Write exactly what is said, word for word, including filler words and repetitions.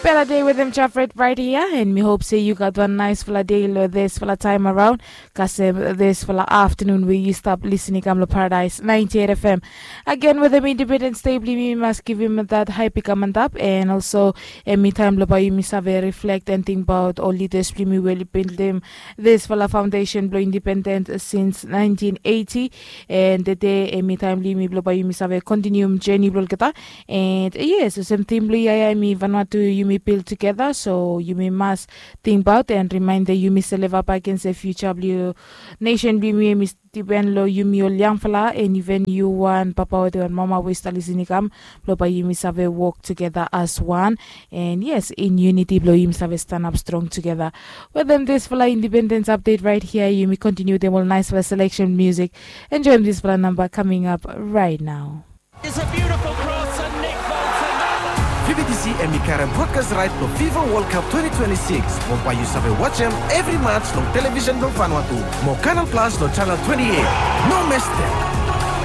Bela dei wetem Jafet rait hia, and mi hop se yu gat wan naisfala dei long disfala taem araon, kasem disfala aftanun we yu stap lisin i kam long Paradise ninety eight F M. Agen wetem Independence Day blong yumi, mi mas givim dat hae i kam antap, and also hemi taem blong bae yumi save reflect and tingbaot ol lidas blong yumi we oli bildim disfala foundation blong independent since nineteen eighty. And tede hemi taem blong yumi blong bae yumi save kontinium jeni blong olgeta. And yes, olsem tim blong yia ya hemi Vanuatu yumi build together, so yumi mas tingbaot and remain that yumi save leva bagen se future blong nation blong yumi hemi dipen long yumi ol yangfala, and even yu wan papa wetem wan mama we i stap lisin i kam, blong bae yumi save wok together as one. And yes, in unity blong yumi save stanap strong together. Wetem disfala independence update rait hia, yumi kontiniu wetem ol naisfala selection music. Enjoem disfala namba coming up right now. It's a beautiful cross and Nick Bolton. V B T C hemi karem broadcast right blong FIFA World Cup twenty twenty-six. Mo bae yu save wajem evri match long television blong Vanuatu. Mo Canal Plus long channel twenty-eight. No mistek.